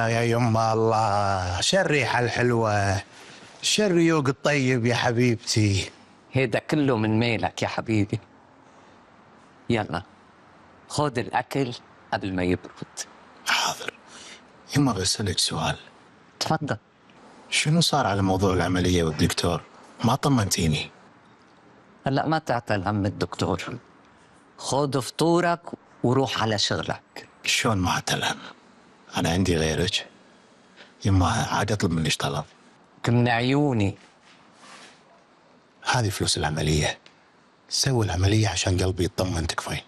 يا يما الله، شو الريحة الحلوة، شو الريوق الطيب يا حبيبتي. هيدا كله من ميلك يا حبيبي. يلا خذ الأكل قبل ما يبرد. حاضر. يما بسألك سؤال. تفضل. شنو صار على موضوع العملية والدكتور؟ ما طمنتيني. هلأ ما تعتل هم الدكتور، خذ فطورك وروح على شغلك. شلون ما اعتلهم؟ أنا عندي غيرك. يما عاد أطلب منك طلب. من عيوني. هذه فلوس العملية، سوي العملية عشان قلبي يطمن تكفين.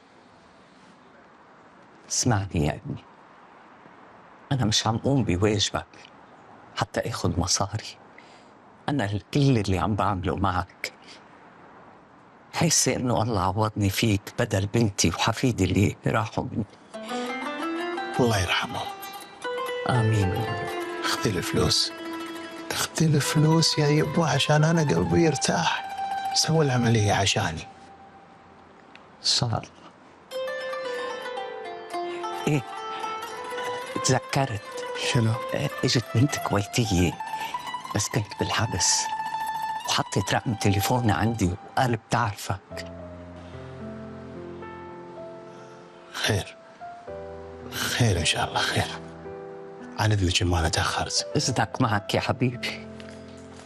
اسمعني يا ابني، أنا مش عم قوم بواجبك حتى اخذ مصاري. أنا كل اللي عم بعمله معك حاسة إنه الله عوضني فيك بدل بنتي وحفيدي اللي راحوا مني. الله يرحمهم. آمين. اخذي الفلوس، اخذي الفلوس يا يبا عشان أنا قلبي يرتاح. سوي العملية عشاني. إن شاء الله. إيه، تذكرت. شنو؟ اجت بنت كويتية بس كنت بالحبس وحطت رقم تليفوني عندي وقال بتعرفك. خير خير إن شاء الله خير. عن إذنك ما أنا تأخرت. إذنك معك يا حبيبي.